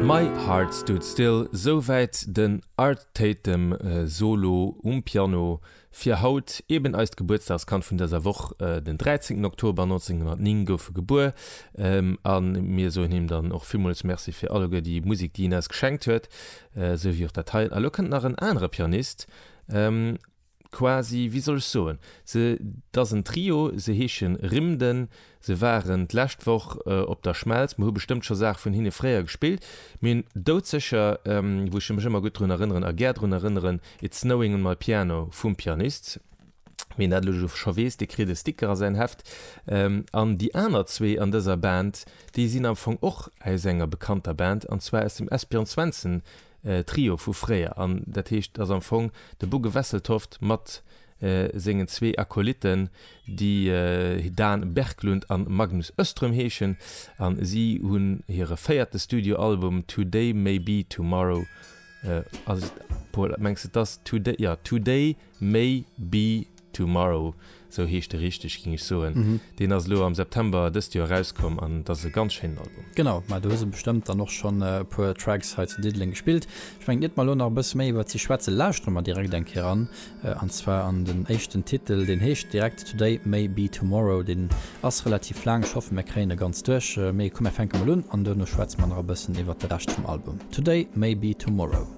My Heart Stood Still, souwäit den Art Tatum Solo um Piano fir haut, eben eist Gebuertsdagskand vun dëser Woch. Den 13 Oktober 1909 gouf e gebuer a mir soen him dann och villmools Merci fir alleguer déi Musek, déi hien eis geschenkt huet, esou wéi och dat hei. A lo kënnt nach en anere Pianist, quasi, wéi soll ech soen, se, 't ass en Trio, se heesche Rimden, se waren d'lescht Woch op der Schmelz, mer hu bestëmmt scho Saache vun hinne fréier gespillt, mee hunn doudsécher, wou ech mech ëmmer gutt drun erënneren a gär drun erënneren, It's Snowing on My Piano vum Pianist. Wien dat elo scho weess, dee kritt e Sticker a säin Heft. An déi aner zwee an dëser Band, déi sinn am Fong och aus enger bekannter Band, an zwar aus dem Esbjörn Svensson Trio vu fréier. An dat heescht, et ass am Fong de Bugge Wesseltoft mat sengen zwee Akolytten, déi Dan Berglund an Magnus Öström heeschen. An si hunn hire véierte Studioalbum Today May Be Tomorrow, ass et, Paul, mengs de, et ass Today, jo, Today May Be Tomorrow, sou heescht e richteg, ging ech soen. Deen ass elo am September dëst Joer erauskomm an et ass e ganz schéinen Album. Genau, ma do hu se bestëmmt dann och schonn e puer Tracks hei zu Diddeleng gespillt. Ech mengen, iert mer elo nach e bësse méi iwwert si schwätzen, lauschtere mer direkt eng Kéier eran, an zwar an den éischten Titel, deen heescht direkt Today May Be Tomorrow. Deen ass relativ laang, ech hoffen, mir kréien e ganz duerch. Mee komm, mir fänke mol un an duerno schwätze mer nach e bëssen iwwert de Rescht vum Album. Today May Be Tomorrow.